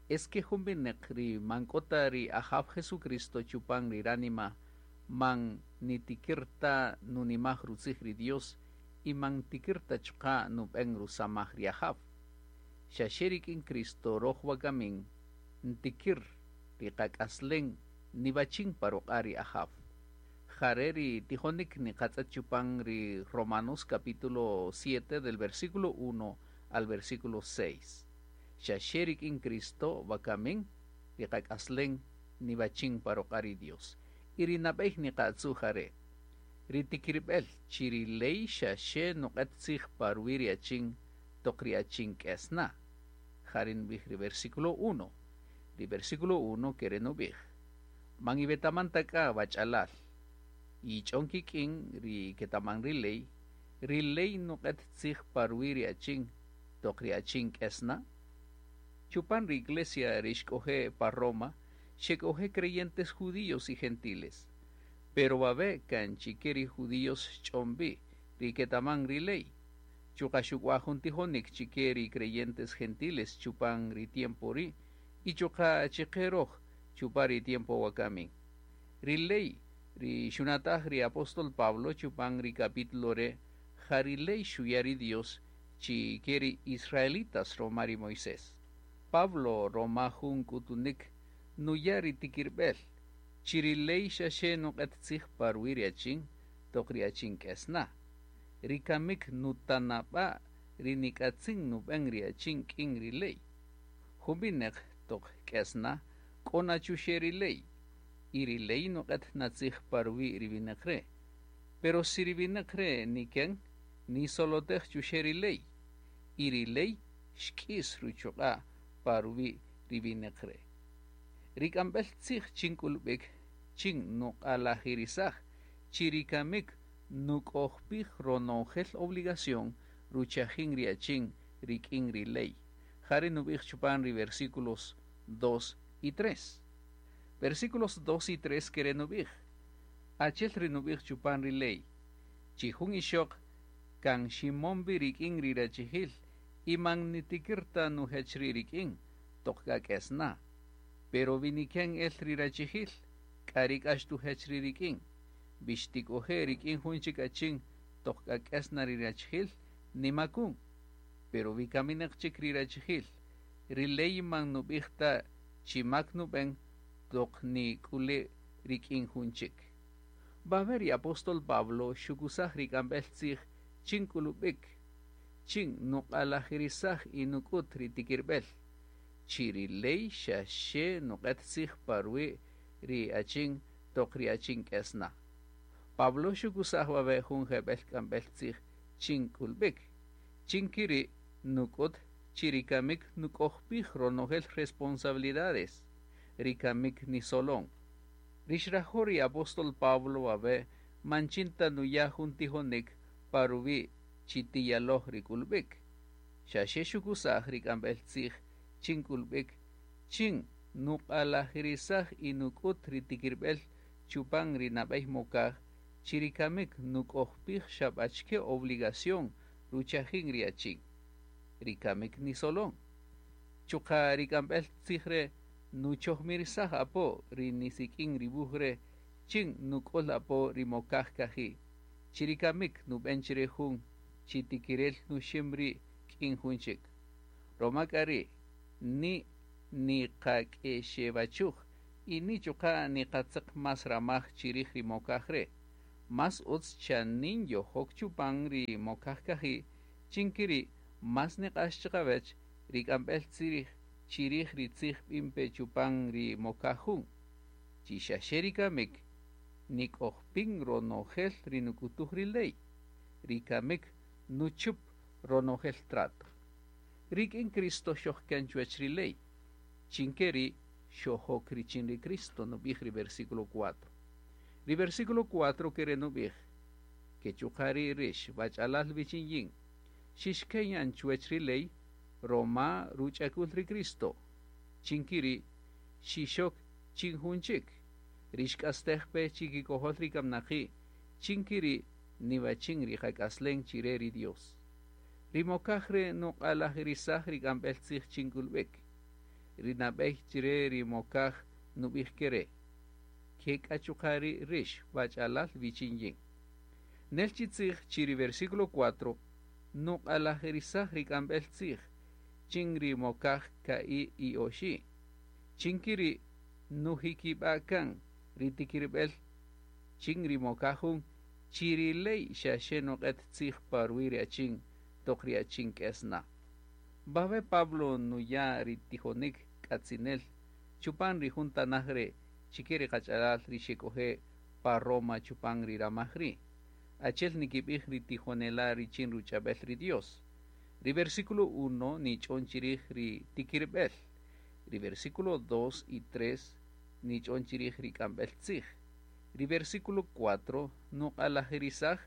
Es que jun wineq ri man k'o ta ri Ajaw Jesucristo chupan ri ránima man nitikir ta nunimaj rutzij ri Dios y man ntikir ta chuqa' nub'en rusamaj ri Ajaw. Xa xe rik'in Cristo roj wakamin ntikir ri qak'aslen niwachin pa ruq'a' ri Ajaw. Jare' ri tijonik niqatz'et chupan ri Romanos capítulo 7 del versículo 1 al versículo 6. Xa xe rik'in Cristo wakamin ri qak'aslen niwachin pa ruq'a' ri Dios. Y ri nab'ey niqatzu' jare': ri tikirb'el chi ri ley xa xe nuq'et tzij pa ruwi' ri achin toq ri achin k'es na. Jare' nub'ij ri versículo 1. Ri versículo 1 kere' nub'ij: Man iwetaman ta k'a wach'alal, yich'on kik'in ri ketaman ri ley, ri ley nuq'et tzij pa ruwi' ri achin toq ri achin k'es na. Chupan ri iglesia ri xk'oje' pa Roma xek'oje' creyentes judíos y gentiles. Pero wawe' kan chike ri judíos xch'on wi ri ketaman ri ley. Chuqa' xuk'waj jun tijonik chike ri creyentes gentiles chupan ri tiempo ri' y chuqa' chiqe roj chupan ri tiempo wakamin. Ri ley ri xunataj ri apóstol Pablo chupan ri capítulo re' ja ri ley xuya' ri Dios chike ri israelitas roma ri Moisés. Pablo roma jun k'utunik nuya' ri tikirb'el chi ri ley xa xe nuq'et tzij pa ruwi' ri achin toq ri achin k'es na. Ri kamik nutanab'a' ri nik'atzin nub'en ri achin k'in ri ley. Jun wineq toq k'es na k'o na chuxe' ri ley y ri ley nuq'et na tzij pa ruwi' ri wineq re'. Pero si ri wineq re' niken nisolotej chuxe' ri ley y ri ley xk'is ruchuq'a' pa ruwi' ri wineq re'. Ri k'amb'el tzij chin k'ulb'ik chin nuq'alajirisaj chi ri kamik nuk'ojpij ronojel obligación ruchajin ri achin rik'in ri ley. Jare' nub'ij chupan ri versículos 2 y 3. Versículos 2 y 3 kere' nub'ij: Achel ri nub'ij chupan ri ley, chi jun ixoq kan ximon wi rik'in ri rachijil y man nitikir ta nujech ri' rik'in toq k'a k'es na. Pero wi niken el ri rachijil, k'a ri k'a xtujech ri' rik'in. Wi xtik'oje' rik'in jun chik achin toq k'a k'es na ri rachijil, nimakun. Pero wi kaminaq chik ri rachijil, ri ley man nub'ij ta chi mak nub'en toq nik'ule' rik'in jun chik. Wawe' ri apóstol Pablo xukusaj ri k'amb'el tzij chin k'ulub'ik, chin nuq'alajirisaj y nuk'ut ri tikirb'el, chi ri ley xa xe nuq'et tzij pa ruwi' ri achin toq ri achin k'es na. Pablo xukusaj wawe' jun jeb'el k'amb'el tzij chin k'ulb'ik, chin kiri' nuk'ut chi ri kamik nuk'ojpij ronojel responsabilidades, ri kamik nisolon. Ri xrajo' ri apóstol Pablo wawe' man chin ta nuya' jun tijonik pa ruwi' chi tiyaloj ri k'ulb'ik. Xa xe xukusaj ri k'amb'el tzij chin k'ulb'ik chin nuq'alajirisaj y nuk'ut ri tikirb'el chupan ri nab'ey mokaj chi ri kamik nuk'ojpij xa b'achike obligación ruchajin ri achin. Ri kamik nisolon. Chuqa' ri k'amb'el tzij re' nuchojmirisaj apo ri nisik'in ri wuj re' chin nuk'ul apo ri mokaj kaji'. Chi ri kamik nub'en chire jun chi tikirel nuxim ri' k'in jun chik. Roma k'a ri' ni niqak'exewachuj y ni chuqa' niqatzeq más ramaj chirij ri mokaj re'. Más utz chanin yojok chupan ri mokaj kaji' chin kiri' más niq'ax chiqawech ri k'amb'el tzij chirij ri tzij b'in pe chupan ri mokaj jun. Chi xa xe ri kamik nik'ojpin ronojel ri nuk'utuj ri ley. Ri kamik nuchup ronojel trato. Rik'in Cristo xojken chuwech ri ley. Chin keri' xojok richin ri Cristo nub'ij ri versículo 4. Ri versículo 4 kere' nub'ij: Ke chuqa' ri' rix wach'alal wichin yin, xixken yan chuwech ri ley roma ruch'akul ri Cristo. Chin kiri' xixok chin jun chik. Rix k'astej pe chikikojol ri kamnaqi', chin kiri' niwachin ri qak'aslen chire ri Dios. Ri mokaj re' nuq'alajirisaj ri k'amb'el tzij chin k'ulb'ik. Ri nab'ey chire ri mokaj nub'ij kere': Ke k'a chuqa' ri' rix wach'alal wichin yin. Nel chi tzij chi ri versículo 4 nuq'alajirisaj ri k'amb'el tzij chin ri mokaj ka'i' y oxi'. Chin kiri' nujikib'a' kan ri tikirb'el chin ri mokaj jun chi ri ley xa xe nuq'et tzij pa ruwi' ri achin toq ri achin k'es na. Wawe' Pablo nuya' ri tijonik k'atzinel chupan ri jun tanaj re' chike ri qach'alal ri xek'oje' pa Roma chupan ri ramaj ri'. Achel nikib'ij ri tijonela' richin ruch'ab'el ri Dios. Ri versículo 1 nich'on chirij ri tikirb'el. Ri versículo 2 y 3 nich'on chirij ri k'amb'el tzij. Ri versículo 4 nuq'alajirisaj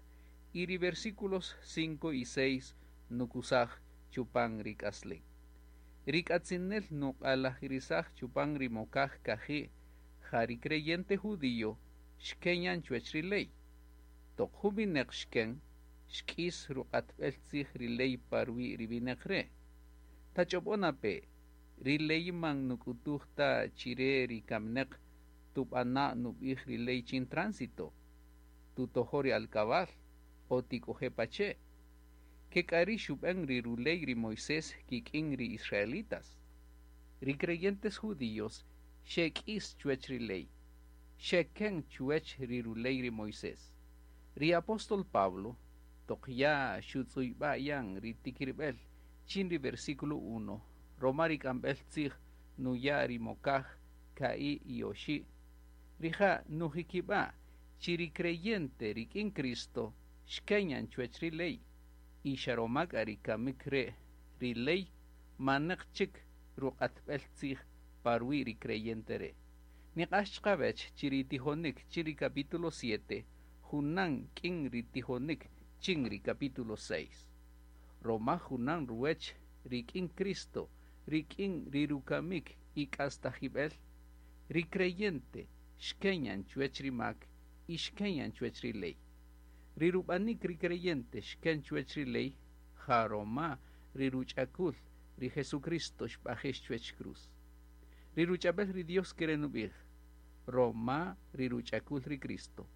y ri versículos 5 y 6 nukusaj chupan ri k'aslen. Ri k'atzinel nuq'alajirisaj chupan ri mokaj kaji' ja ri creyente judío xken yan chuwech ri ley. Toq jun wineq xken, xk'is ruq'atb'el tzij ri ley pa ruwi' ri wineq re'. Tach'ob'o pe, ri ley man nuk'utuj ta chire ri kamineq tub'ana' nub'ij ri ley chin tránsito, tutojo ri alkabal o tik'oje pache'. Ke k'a ri' xub'en ri ruley ri Moisés kik'in ri israelitas. Ri creyentes judíos xek'is chuwech ri ley, xeken chuwech ri ruley ri Moisés. Ri apóstol Pablo toq ya xutz'uyb'a' yan ri tikirb'el chin ri versículo 1 roma ri k'amb'el tzij nuya' ri mokaj ka'i' y oxi', rija' nujikib'a' chi ri creyente rik'in Cristo xken yan chuwech ri ley y xa roma k'a ri kamik re' ri ley maneq chik ruq'atb'el tzij pa ruwi' ri creyente re'. Niq'ax chiqawech chi ri tijonik chin ri capítulo 7 junan k'in ri tijonik chin ri capítulo 6. Roma junan ruwech rik'in Cristo, rik'in ri rukamik y k'astajib'el, ri creyente xken yan chuwech ri mak y xken yan chuwech ri ley. Ri rub'anik ri creyente xken chuwech ri ley, ja roma ri ruch'akul ri Jesucristo xb'ajex chuwech cruz. Ri ruch'ab'el ri Dios kere' nub'ij, roma ri ruch'akul ri Cristo.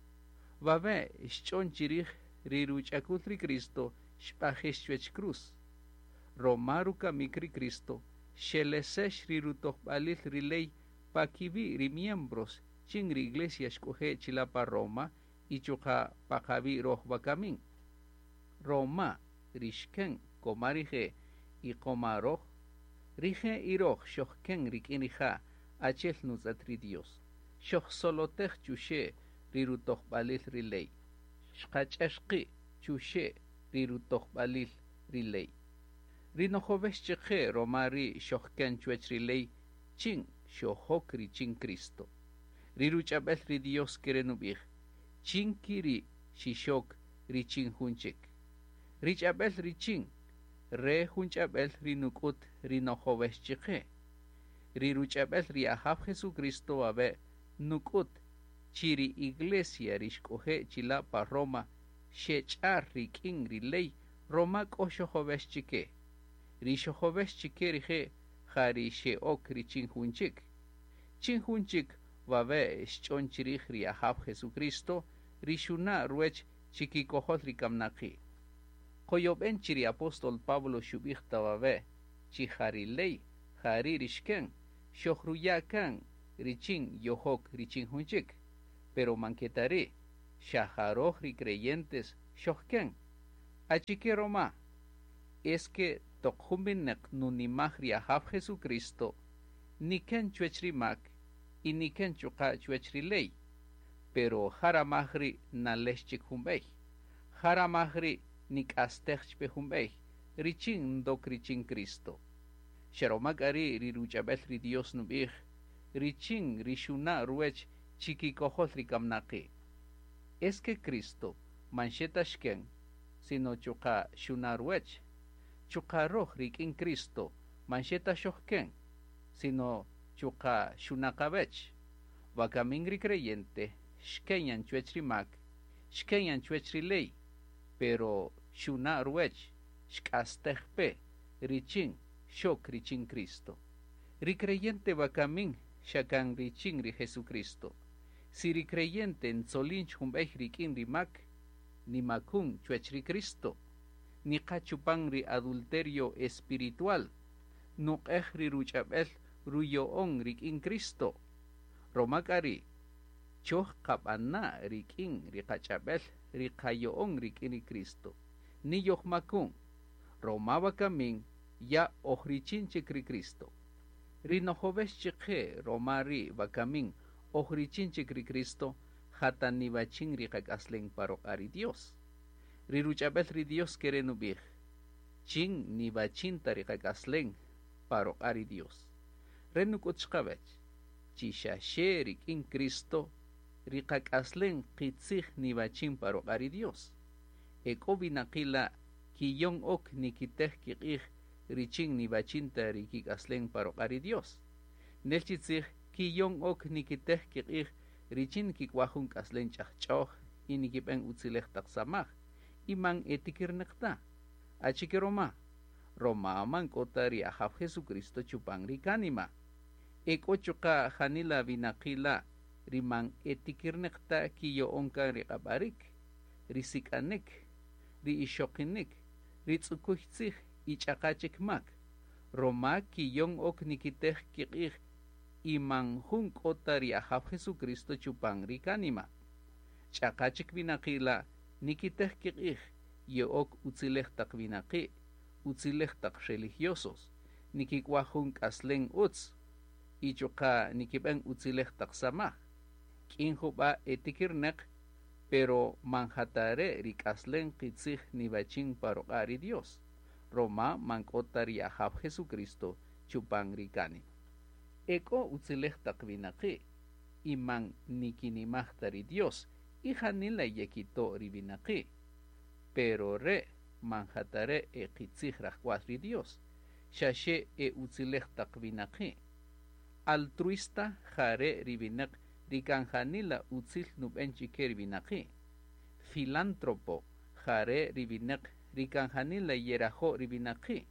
Wawe' xch'on chirij ri ruch'akul ri Cristo xb'ajex chuwech cruz. Roma rukamik ri Cristo xelesex ri rutojb'alil ri ley pa kiwi' ri miembros chin ri iglesia xk'oje' chila' pa Roma y chuqa' pa qawi' roj wakamin. Roma ri xken koma rije' y koma roj, rije' y roj xojken rik'in rija' achel nutz'et ri Dios. Xojsolotej chuxe' ri rutojb'alil ri ley. Xqach'er qi' chuxe' ri rutojb'alil ri ley. Ri nojowex chiqe roma ri xojken chuwech ri ley chin xojok richin Cristo. Ri ruch'ab'el ri Dios kere' nub'ij, chin kiri' xixok richin jun chik. Ri ch'ab'el richin, re jun ch'ab'el ri nuk'ut ri nojowex chiqe. Ri ruch'ab'el ri Ajaw Jesucristo wawe' nuk'ut chi ri iglesia ri xk'oje' chila' pa Roma xech'ar rik'in ri ley roma k'o xojowex chike. Ri xojowex chike rije' ja ri xe'ok richin jun chik. Chin jun chik wawe' xch'on chirij ri Ajaw Jesucristo ri xuna' ruwech chikikojol ri kamnaqi'. Qoyob'en chi ri apóstol Pablo xub'ij ta wawe' chi ja ri ley ja ri' ri xken xojruya' kan richin yojok richin jun chik. Pero man ke ta ri', xa ja roj ri creyentes xojken. Achike roma? Es que toq jun wineq nunimaj ri Ajaw Jesucristo, niken chuwech ri mak y niken chuqa' chuwech ri ley. Pero ja ramaj ri' nalex chik jun b'ey. Ja ramaj ri' nik'astej chpe jun b'ey, richin ndok richin Cristo. Xa roma k'a ri' ri ruch'ab'el ri Dios nub'ij, richin ri xuna' ruwech chikikojol ri kamnaqi'. Es que Cristo man xe ta xken, sino chuqa' xuna' ruwech. Chuqa' roj rik'in Cristo man xe ta xojken, sino chuqa' xuna' qawech. Wakamin ri creyente xken yan chuwech ri mak, xken yan chuwech ri ley, pero xuna' ruwech, xk'astej pe, richin xok richin Cristo. Ri creyente wakamin xa kan richin ri Jesucristo. Si ri creyente ntzolin jun b'ey rik'in ri mak, nimakun chuwäch ri Cristo, niqa chupan ri adulterio espiritual, nuq'ej ri ruch'ab'el ruyo'on rik'in Cristo. Roma k'a ri' choj qab'ana' rik'in ri qach'ab'el ri qayo'on rik'in ri Cristo. Niyojmakun, roma wakamin ya oj richin chik ri Cristo. Ri nojovex chiqe roma ri wakamin oj richin chik ri Cristo, jata niwachin ri qak'aslen pa ruq'a' ri Dios. Ri ruch'ab'el ri Dios kere' nub'ij, chin niwachin ta ri qak'aslen pa ruq'a' ri Dios. Re nuk'ut chiqawech, chi xa xe rik'in Cristo ri qak'aslen qitzij niwachin pa ruq'a' ri Dios. E k'o winaqi' la' kiyon ok nikitej kiq'ij richin niwachin ta ri kik'aslen pa ruq'a' ri Dios. Nel chi tzij kiyon ok nikitej kiq'ij richin kik'waj jun k'aslen ch'ajch'oj y nikib'en utzilej taq samaj y man etikirneq ta. Achike roma? Roma man k'o ta ri Ajaw Jesucristo chupan ri kánima. E k'o chuqa' janila winaqi' la' ri man etikirneq ta kiyo'on kan ri q'ab'arik, ri sik'anik, ri ixoqinik, ri tz'ukuy tzij y ch'aqa chik mak. Roma kiyon ok nikitej kiq'ij y man jun k'o ta ri Ajaw Jesucristo chupan ri kánima. Ch'aqa chik winaqi' la' nikitej kiq'ij ye'ok utzilej taq winaqi', utzilej taq religiosos, nikik'waj jun k'aslen utz y chuqa' nikib'en utzilej taq samaj. K'in jub'a' etikirneq, pero man jatare' ri k'aslen qitzij niwachin pa ruq'a' ri Dios. Roma man k'o ta ri Ajaw Jesucristo chupan ri kánima. E k'o utzilej taq winaqi' y man nikinimaj ta ri Dios y janila yekito' ri winaqi'. Pero re' man jatare' e qitzij rajk'wal ri Dios, xa xe e utzilej taq winaqi'. Altruista jare' ri winaq ri kan janila utzil nub'en chike ri winaqi'. Filántropo jare' ri winaq ri kan janila yerajo' ri winaqi'.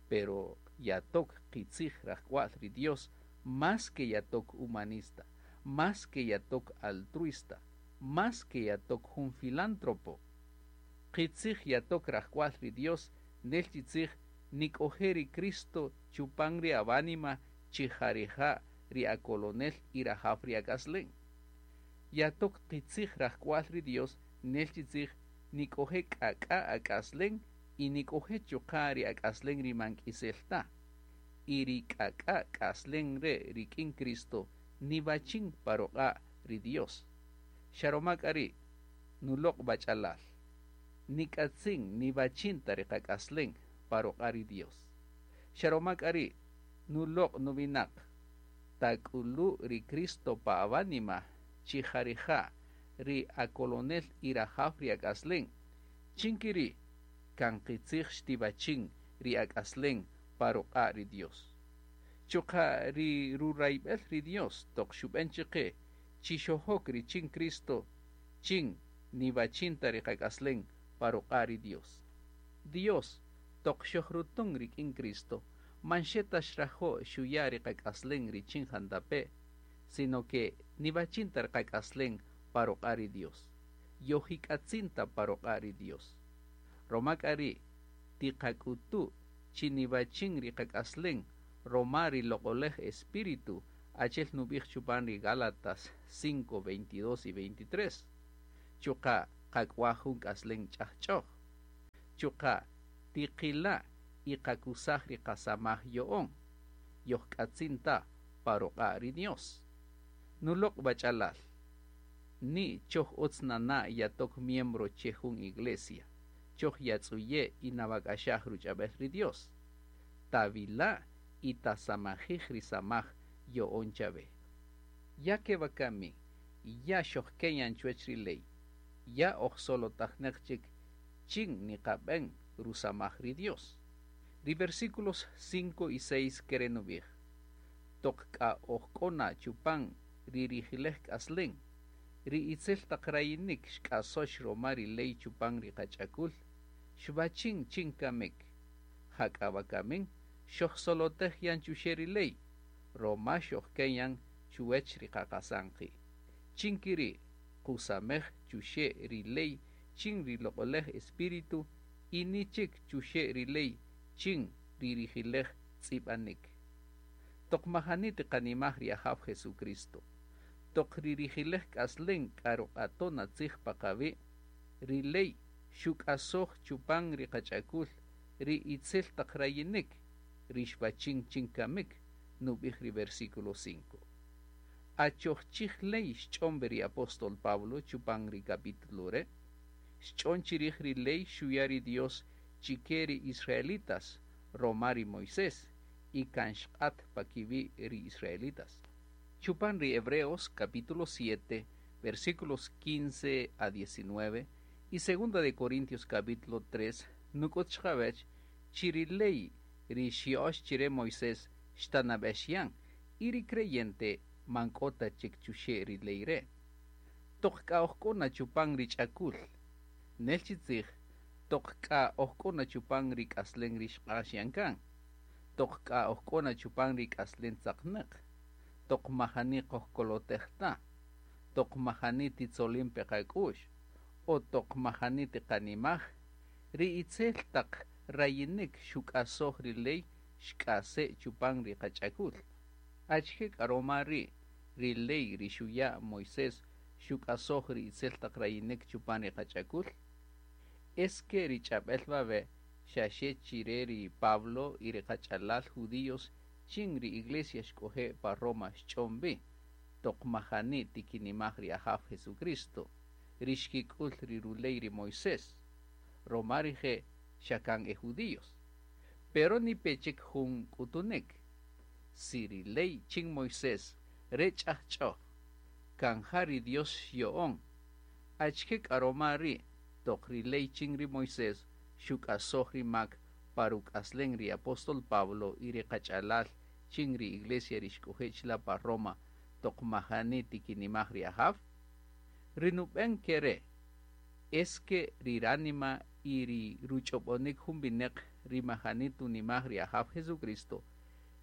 Pero yatok qitzij rajk'wal ri Dios más que yatok humanista, más que yatok altruista, más que yatok jun filántropo. Qitzij yatok rajk'wal ri Dios nel chi tzij nik'oje' ri Cristo chupan ri awánima chi jarija' ri akolonel y rajaw ri ak'aslen. Yatok qitzij rajk'wal ri Dios nel chi tzij nik'oje' k'ak'a ak'aslen y nik'oje' chuqa' ri ak'aslen ri man k'isel ta. Y ri k'ak'a k'aslen re' rik'in Cristo niwachin pa ruq'a' ri Dios. Xa roma k'a ri' nuloq' b'ach'alal. Nik'atzin niwachin ta ri qak'aslen pa ruq'a' ri Dios. Xa roma k'a ri' nuloq' nuwinaq tak'ulu' ri Cristo pa awánima chi jarija' ri akolonel y rajaw ri ak'aslen. Chin kiri' kan qitzij xtiwachin ri ak'aslen pa ruq'a' ri Dios. Chuqa' ri rurayb'el ri Dios toq xub'en chiqe chi xojok richin Cristo chin niwachin ta ri qak'aslen pa ruq'a' ri Dios. Dios toq xojrutun rik'in Cristo man xe ta xrajo' xuya' ri qak'aslen richin jantape', sino que niwachin ta ri qak'aslen pa ruq'a' ri Dios. Yojik'atzin ta pa ruq'a' ri Dios. Roma k'a ri' tiqak'utu' chi niwachin ri qak'aslen roma ri loq'olej Espíritu achel nub'ij chupan ri Gálatas 5, 22 y 23. Chuqa' qak'waj jun k'aslen ch'ajch'oj. Chuqa' tiqila' y qakusaj ri qasamaj yo'on. Yojk'atzin ta pa ruq'a' ri Dios. Nuloq' b'ach'alal. Ni choj utz nana' yatok miembro che jun iglesia. Choj yatz'uye' y nawak'axaj ruch'ab'el ri Dios. Tawila' y tasamajij ri samaj yo'on chawe. Ya ke wakami, ya xojkeyan chuwech ri ley. Ya oj solotajneq chik chin niqab'en rusamaj ri Dios. Ri versículos 5 y 6 kere' nub'ij. Toq k'a oj k'o na chupan ri rijilej k'aslen, ri itzel taq rayinik xk'asox roma ri ley chupan ri qach'akul, xwachin chin kamik. Jak'a wakamin Xojsolotej yan chuxe' ri ley, roma xojken yan chuwech ri qaqasan qi'. Chin kiri' qusamej chuxe' ri ley chin ri Loq'olej Espíritu y ni chik chuxe' ri ley chin ri rijilej tz'ib'anik. Toq majani tiqanimaj ri Ajaw Jesucristo, toq ri rijilej k'aslen k'a ruq'aton tzij pa qawi', ri ley xuk'asoj chupan ri qach'akul ri itzel taq rayinik, ri xwachin chin kamik, nub'ij ri versículo 5. Achoj chij ley xch'on ri apóstol Pablo chupan ri capítulo re', xch'on chirij ri ley xuya ri Dios chike ri israelitas, roma ri Moisés, y kan xq'at pa kiwi' ri israelitas. Chupan ri Hebreos capítulo 7, versículos 15 a 19 y segunda de Corintios capítulo 3, nuk'ut chqawech chi ri ley ri xya'ox chire Moisés xtanab'ex yan y ri creyente man k'o ta chik chuxe' ri ley re'. Toq k'a oj k'o na chupan ri ch'akul, nel chi tzij, toq k'a oj k'o na chupan ri k'aslen ri xq'ax yan kan, toq k'a oj k'o na chupan ri k'aslen tzaqnäq, toq majani qojkolotej ta, toq majani titzolin pe qak'u'x, o toq majani tiqanimaj, ri itzel taq rayinik xuk'asoj ri ley xk'ase' chupan ri qach'akul. Achike k'a roma ri' ri ley ri xuya' Moisés xuk'asoj ri itzel taq rayinik chupan ri qach'akul? Es que ri ch'ab'el wawe' xaxe chire ri Pablo y ri qach'alal judíos chin ri iglesia xk'oje' pa Roma xch'on wi, toq majani tikinimaj ri Ajaw Jesucristo, ri xkik'ul ri ruley ri Moisés, roma rije' xa kan e judíos. Pero ni pe chik jun k'utunik. Si ri ley chin Moisés re ch'ajch'oj, kan ja ri Dios xyo'on, achike k'a roma ri' toq ri ley chin ri Moisés xuk'asoj ri mak pa ruk'aslen ri apóstol Pablo y ri qach'alal chin ri iglesia ri xk'oje' chila' pa Roma toq majani tikinimaj ri Ajaw? Ri nub'en kere' es que ri ránima y ri ruch'ob'onik jun wineq ri majani tunimaj ri Ajaw Jesucristo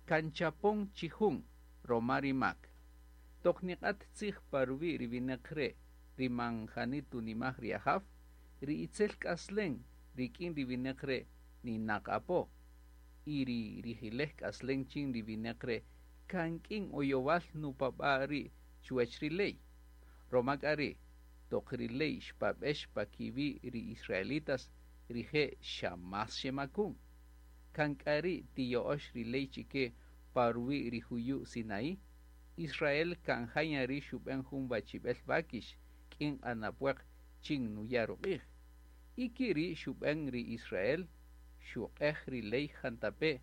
kan chapon chi jun roma ri mak. Toq niq'at tzij pa ruwi' ri wineq re' ri man jani tunimaj ri Ajaw, ri itzel k'aslen rik'in ri wineq re' ninaq apo, y ri rijilej k'aslen chin ri wineq re' kan k'in oyowal nupab'a' ri' chuwech ri ley. Roma k'a ri' toq ri ley xpab'ex pa kiwi' ri israelitas, rije' xa más xemakun. Kan k'a ri' tiyo'ox ri ley chike pa ruwi' ri juyu' Sinaí, Israel kan jaya ri' xub'en jun wachib'el wakix k'in q'anapwaq chin nuya' ruq'ij. Y kiri' xub'en ri Israel xuq'ej ri ley jantape'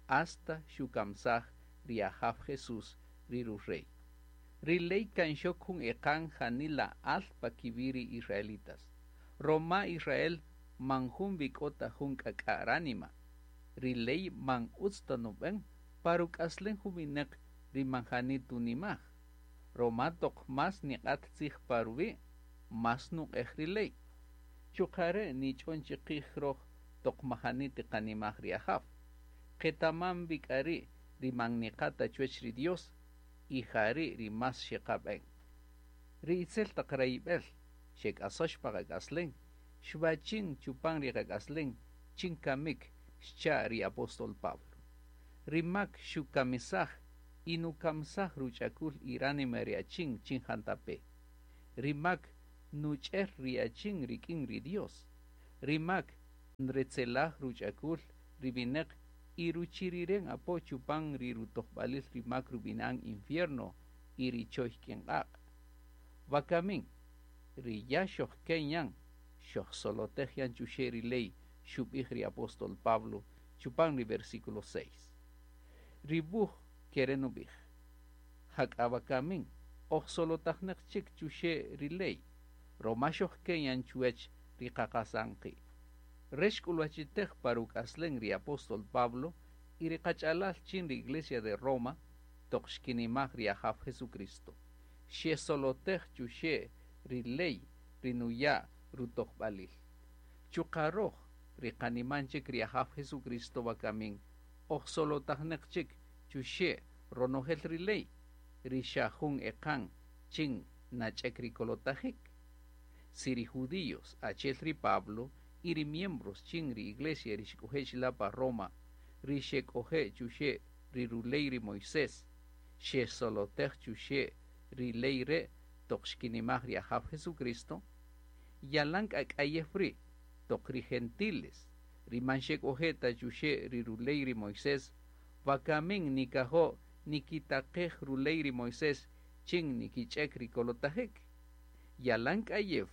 hasta xukamsaj ri Ajaw Jesús ri ru-rey. Ri ley kan xok jun eqan janila al pa kiwi' ri israelitas. Roma Israel man jun wi k'o ta jun k'ak'a' ránima. Ri ley man utz ta nub'en pa ruk'aslen jun wineq ri man jani tunimaj. Roma toq más niq'at tzij pa ruwi', más nuq'ej ri ley. Chuqa' re' nich'on chiqij roj toq majani tiqanimaj ri Ajaw. Qetaman wi k'a ri' ri man niqa' ta chuwech ri Dios y ja ri' ri más xeqab'en. Ri itzel taq rayib'el xek'asox pa qak'aslen, xwachin chupan ri qak'aslen chin kamik xcha' ri apóstol Pablo. Ri mak xukamisaj y nukamsaj ruch'akul y ránima ri achin chin jantape. Ri mak nuch'er ri achin rik'in ri Dios. Ri mak nretzelaj ruch'akul ri wineq y ruchiriren apo chupan ri rutojb'alil ri mak rub'inan infierno y ri choy k'in q'aq'. Wakamin, ri ya xojken yan, xojsolotej yan chuxe' ri ley xub'ij ri apóstol Pablo chupan ri versículo 6. Ri wuj kere nub'ij. Jak'a wakamin, ojsolotajneq chik chuxe' ri ley, roma xojken yan chuwech ri qaqasan qi'. Re xk'ulwachitej pa ruk'aslen ri apóstol Pablo y ri qach'alal chin ri iglesia de Roma toq xkinimaj ri Ajaw Jesucristo. Xesolotej chuxe' ri ley ri nuya' rutojb'alil. Chuqa' roj ri qaniman chik ri Ajaw Jesucristo wakamin. Oj solotajneq chik chuxe' ronojel ri ley, ri xa jun eqan chin nach'ek ri kolotajik. Si ri judíos achel ri Pablo y ri miembros chin ri iglesia ri xk'oje' chila' pa Roma, ri xek'oje' chuxe' ri ruley ri Moisés, xesolotej chuxe' ri ley re' toq xkinimaj ri Ajaw Jesucristo, yalan k'a k'ayew ri' toq ri gentiles, ri man xek'oje' ta chuxe' ri ruley ri Moisés, wakamin nikajo' nikitaqej ruley ri Moisés chin nikich'ek ri kolotajik. Yalan k'ayew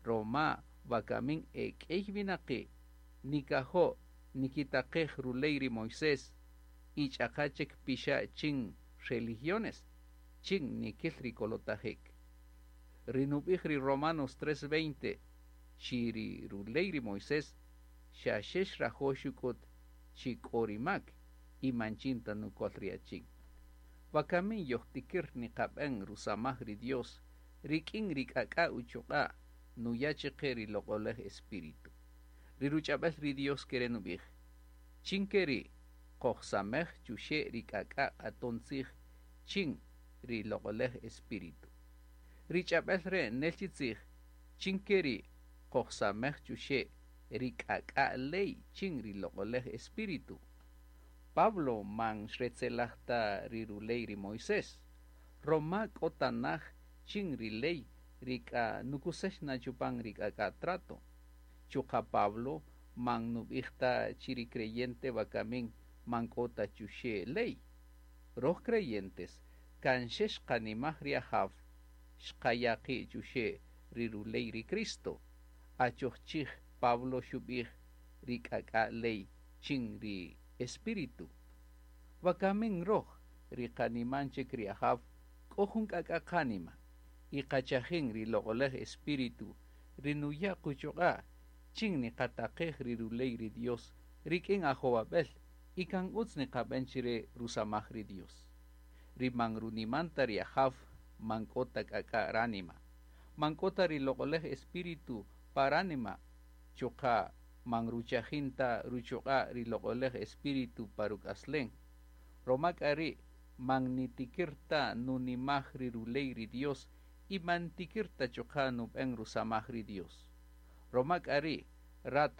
roma wakamin e k'ey winaqi' nikajo' nikitaqej ruley ri Moisés y ch'aqa chik pixa' chin religiones chin nikil ri kolotajik. Ri nub'ij ri Romanos 3:20 chi ri ruley ri Moisés xa xe xrajo' xuk'ut chi k'o ri mak y man chin ta nukol ri achin. Wakamin yojtikir niqab'en rusamaj ri Dios rik'in ri k'ak'a' uchuq'a' nuya' chiqe ri loq'olej Espíritu. Ri ruch'ab'el ri Dios kere' nub'ij: Chin ke ri' qojsamej chuxe' ri k'ak'a' q'aton tzij chin ri loq'olej Espíritu. Ri ch'ab'el re' nel chi tzij chin ke ri' qojsamej chuxe' ri k'ak'a' ley chin ri loq'olej Espíritu. Pablo man xretzelaj ta ri ruley ri Moisés, roma k'o tanaj chin ri ley ri k'a nukusex na chupan ri k'ak'a' trato. Chuqa' Pablo man nub'ij ta chi ri creyente wakamin man k'o ta chuxe' ley. Roj creyentes kan xe xqanimaj ri Ajaw xqaya' qi' chuxe' ri ruley ri Cristo. Achoj chij Pablo xub'ij ri k'ak'a' ley chin ri Espíritu. Wakamin roj ri qaniman chik ri Ajaw k'o jun k'ak'a' qanima y qachajin ri loq'olej Espíritu ri nuya' quchuq'a' chin niqataqej ri ruley ri Dios rik'in ajowab'el y kan utz niqab'en chire rusamaj ri Dios. Ri man runiman ta ri Ajaw man k'o ta k'ak'a' ránima, man k'o ta ri loq'olej Espíritu pa ránima, chuqa' man ruchajin ta ruchuq'a' ri loq'olej Espíritu pa ruk'aslen. Roma k'a ri' man nitikir ta nunimaj ri ruley ri Dios y man tikir ta chuqa' nub'en rusamaj ri Dios. Roma k'a ri' rat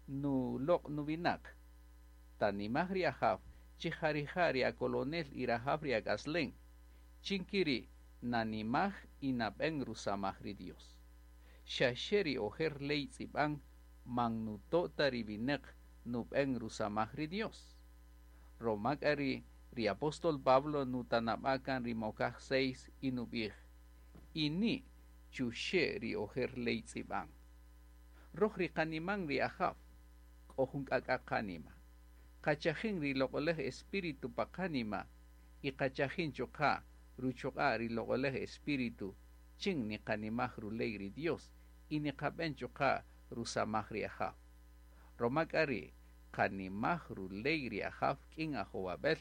nuloq' nuwinaq, tanimaj ri Ajaw chi ja rija' ri akolonel y rajaw ri ak'aslen, chin kiri' nanimaj y nab'en rusamaj ri Dios. Xa xe ri ojer ley tz'ib'an man nuto' ta ri winaq nub'en rusamaj ri Dios. Roma k'a ri' ri apóstol Pablo nutanab'a' kan ri mokaj 6 y nub'ij: Ini chuxe' ri ojer ley tz'ib'an. Roj ri qaniman ri Ajaw k'o jun k'ak'a' qanima. Qachajin ri loq'olej Espíritu pa qanima y qachajin chuqa' ruchuq'a' ri loq'olej Espíritu chin niqanimaj ruley ri Dios y niqab'en chuqa' rusamaj ri Ajaw. Roma k'a ri' qanimaj ruley ri Ajaw k'in ajowab'el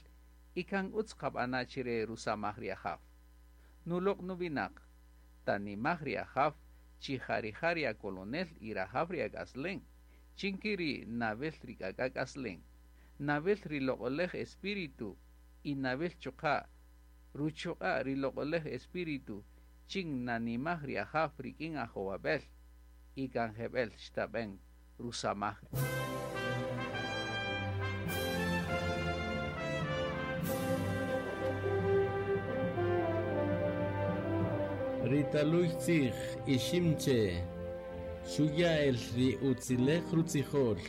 y kan utz qab'ana' chire rusamaj ri Ajaw. Nuloq' nuwinaq, tanimaj ri Ajaw chi ja rija' ri akolonel y rajaw ri ak'aslen, chin kiri' nawel ri k'ak'a' k'aslen, nawel ri loq'olej Espíritu y nawel chuqa' ruchuq'a' ri loq'olej Espíritu chin nanimaj ri Ajaw rik'in ajowab'el y kan jeb'el xtab'en rusamaj. Ri taluy tzij iximche xuya el ri utzilej rutzijol.